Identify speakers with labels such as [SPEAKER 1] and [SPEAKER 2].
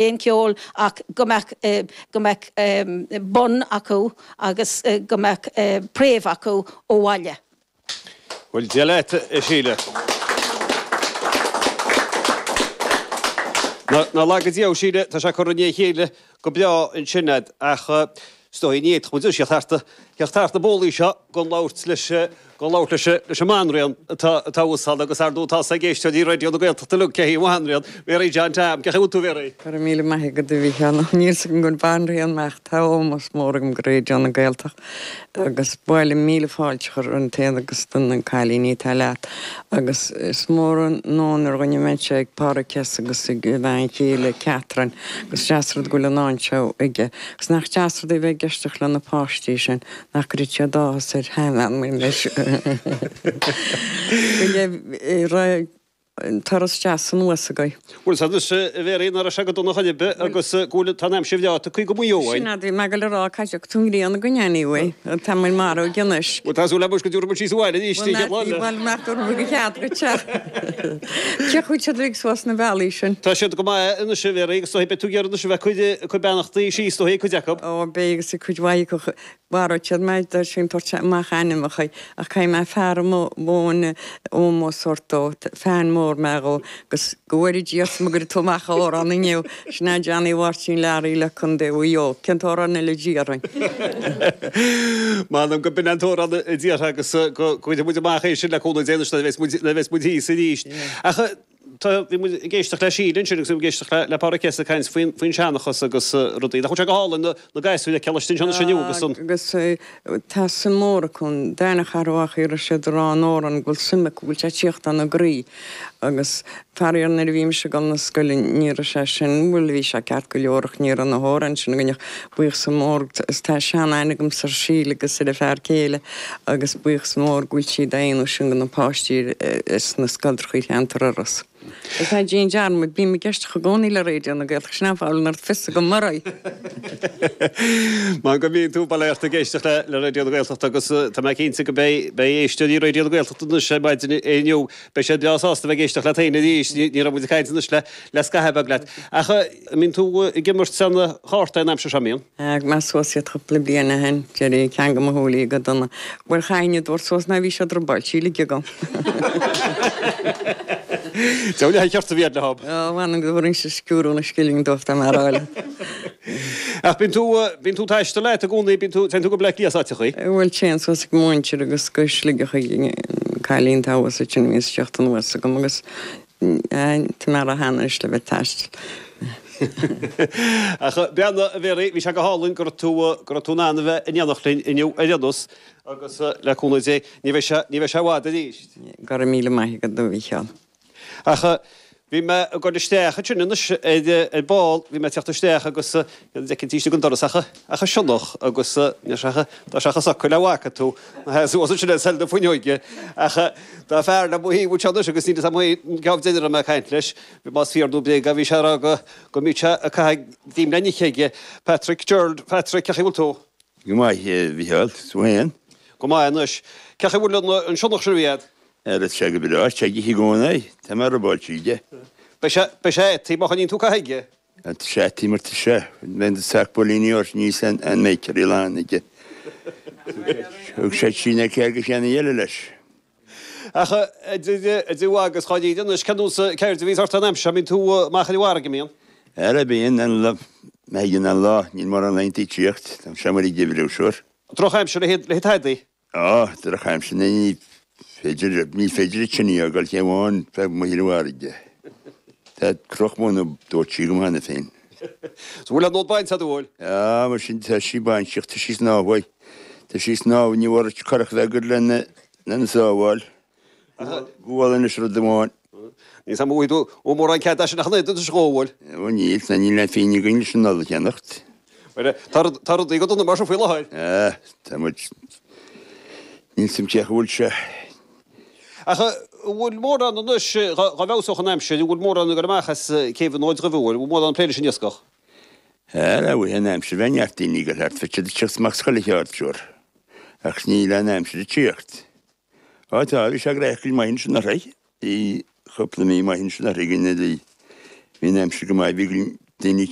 [SPEAKER 1] Aon cheol ach go mbeadh go mbeadh bun acu agus go mbeadh préimh acu ó bhaile.
[SPEAKER 2] Bhuel, Dia leat, a Shíle. Ná laga Dia thú, a Shíle, tá sé curtha i ndiaidh a chéile go breá ansin a'd, ach is dóigh ní fhéadfadh muid anois theacht thart na bólaí seo gan labhairt leis gan labhairt leis leis an mbanríon atá atá thuas ann agus ar ndóigh tá 'fhios ag éisteoirí Raidió na Gaeltachta uilig cé hí an bhanríon, Mary John Tom. Cén chaoi a bhfuil tú, Mary?
[SPEAKER 3] Go raibh míle maith agat, a Mhícheáil. Níl 'fhios agam gur banríon mé ach tá ómós mór agam go Raidió na Gaeltachta agus ba mhaith liom míle fáilte a chur roimh féin agus do na cailíní atá leat agus is mór an onóir dhuinn a bheith anseo ag Páraic Hesse agus ag a bhean chéile Catherine agus is deas rud go bhfuil an fháinne seo aige agus nach deas rud é bheith ag éisteacht le na páistí sin nach gcuirfidh siad áthas ar sheanbhean mar mise go raibh turas deas anuas agaibh.
[SPEAKER 2] Bhuel sea anois a Mhéaraí nach raibh sé go dona chor ar bith agus go bhfuil tá an aimsir bhreá tagtha go Maigh Eo
[SPEAKER 3] Sin é, bhí mé ag goil a rá cá dtiocfaidh tú an ghrian againn anyway, tá muid marbh ag an uisce.
[SPEAKER 2] Bhuel tá súil agam go dtabharfaidh muid síos abhaile arís an chéad lá eile.
[SPEAKER 3] Bhuel nach dtabharfaidh muid go cead dhuit é. Cén chaoi a bhfuil siad uilig suas na bealaí sin?
[SPEAKER 2] Tá siad go maith anois a Mhéaraí agus beidh tú ag iarraidh anois a bheith ag cur beannachtaí síos dóibh cuid acu.
[SPEAKER 3] Ó beidh agus cuid mhaith acu Mharódh siad mé dá sin tabhairt amach ainmneacha ach caithfidh mé fear a mhóin ómós a thabhairt dó, fan mór mé dhó agus go bhfóire Dia ort má gcuirfidh tú amach amhrán inniu, sin é Johnny Mháirtín Learaí le Contae Mhaigh Eo. Cén t-amhrán eile a d'iarrfainn?
[SPEAKER 2] M'anam go b'in an t-amhrán a d'iarrfá agus go gcuirfidh muid amach é sin le cúnamh Dé anois nuair a bheas muid thíos arís. Ach Tá, bhí muid ag éisteacht le Síle ansin agus bhí muid ag éisteacht le, le Páraic Hesse ag caint faoin, faoin seanchas agus rudaí. Nach bhfuil sé go hálainn na, na gasúir a fheiceáil istigh anseo anois inniu agus an.
[SPEAKER 3] Agus tá suim mór acu, an darna cheathrú a raibh siad ag rá an amhrán go bhfuil suim acu, go bhfuil sé ag tíocht óna gcroí. Agus faraor nuair a bhí mise ag dul na scoile ní raibh sé sin, bhuel bhí sé ceart go leor ach ní raibh na hamhráin sin againn ach buíochas mór is tá sean-aithne agamsa ar Síle agus ar a fear céile agus buíochas mór go bhfuil siad á dhéanamh sin do na páistí sna scoltrachaí cheantar Iorrais. Is ná déan dearmad, bím ag éisteacht i gcónaí le Raidió na Gaeltachta, sin an fáth a bhfuil an oiread fios agam oraibh.
[SPEAKER 2] Mar go mbíonn tú bail ort ag éisteacht le Raidió na Gaeltachta agus tá mé cinnte go beidh beidh éisteoirí Raidió na Gaeltachta anois ar maidin inniu, beidh siad breá sásta bheith ag éisteacht leat féin arís, ní raibh muid ag caint anois le le scaitheamh beag leat. Ach an mbíonn tú ag imirt na cártaí an aimsir seo, an mbíonn?
[SPEAKER 3] D'fhág mé suas iad cúpla bliain ó shin, d'éirigh ceann de mo shúilí go dona. Bhuel, chaithfinn iad a thabhairt suas nó bhí siad robáilte uilig agam.
[SPEAKER 2] Deabhal leath cheart a bhí agat leo.
[SPEAKER 3] Ó, mh'anam go dtabharfainnse sciúradh na scilling dóibh dá mbeadh a rá leat.
[SPEAKER 2] Ach bíonn tú, bíonn tú ag taisteal leat i gcónaí, bíonn tú, téann tú go Bleá Cliath áiteachaí?
[SPEAKER 3] Bhuel, téann suas ag mo mhuintir agus go Sligeach chuig an cailín atá thuas ansin a bhíonns ag teacht anuas agam agus Tá mé ró-shean anois le bheith ag taisteal.
[SPEAKER 2] Ach breathnaigh, a Mhéaraí, bhí sé go hálainn go raibh tú, go raibh tú in ann a bheith in éineacht linn inniu ar aon nós agus le cúnamh Dé ní bheidh sé, ní bheidh sé i bhfad arís.
[SPEAKER 3] Go raibh míle maith agat, a Mhícheáil.
[SPEAKER 2] Ach bhí mé ag dul isteach ansin anois ar, ar ball, bhí mé ag teacht isteach agus ní fheicfinn taobh istigh den doras ach, ach an sionnach agus níl sé ach, tá sé chomh socair le bhfaca tú. Suas ansin ar seil na fuinneoige. Ach tá fear le mo thaobh anseo anois agus níl fhios agam féin cá bhfuil a raibh mé ag caint leis, más fíor nó bréag é, bhí sé ag rá go go mbíodh sé ag caitheamh greim le n-ithe aige. Patrick Gerald, Patrick, cén chaoi a bhfuil tú?
[SPEAKER 4] Go maith, a Mhicheáil, tú féin?
[SPEAKER 2] Go maith anois. Cén chaoi a bhfuil an sionnach sin a bhí agat?
[SPEAKER 4] Tá sé go breá, tá sé ag ithe i gcónaí, tá mé robáilte aige.
[SPEAKER 2] Beidh sé, beidh sé a'd má choinníonn tú ag caitheamh aige.
[SPEAKER 4] Tá sé a'd mar tá sé. Bheinn do sac builíní ort níos an mbeidh lán aige. Thug sé trí nó ceathair de cheannaí eile leis.
[SPEAKER 2] Ach a Dia agus dháiríre anois, cén nós ceird a bhíos ort an aimsir seo, an mbíonn tú amach ar an bhfarraige, an mbíonn?
[SPEAKER 4] Ara bíonn, an lá, má thagann an lá, níl mórán laethanta ag tíocht, tá sé amuigh ag oibriú, sure.
[SPEAKER 2] Drochaimsir le haghaidh tadaí?
[SPEAKER 4] Á, drochaimsir, ní féidir, ní féidir an tine a fhágáil cé amháin feadh amuigh ar an bhfarraige. Tá cnoc móna dóite agam cheana féin.
[SPEAKER 2] So bhfuil an fhód bainte agat, an bhfuil?
[SPEAKER 4] Á, mar sin, tá sí bainte ach tá sí ag snámh. Tá sí ag snámh, ní bhfuair curach bheag lena, lena sábháil. Gabháil anois rud amháin.
[SPEAKER 2] Níl 's a'm an bhfaighidh tú mórán cead as sin ach an oiread anois a bhfuil.
[SPEAKER 4] Ó níl, ná níl aon phingin againn leis an ola a cheannacht.
[SPEAKER 2] Bhuel, tá rud, tá rudaí go dona mar seo faoi láthair.
[SPEAKER 4] Ah, tá muid, níl 's a'm cén chaoi a bhfuil sé.
[SPEAKER 2] Ach an bhfuil mórán anois, dá bhfeabhsódh an aimsir, an bhfuil mórán ag dul amach as céibh an Fhóid Dhuibh, an bhfuil, an bhfuil mórán ag plé leis an iascach?
[SPEAKER 4] Ara, bhí an aimsir, bheadh neart daoine ag dul thart, bheadh siad ag teacht amach as chuile cheard, sure. Ach níl an aimsir ag tíocht. Á tá, bhí sé gnaitheach go maith ansin anuraidh. Bhí cúpla mí maith ansin anuraidh againn bhí an aimsir go maith, bhí. Daoine.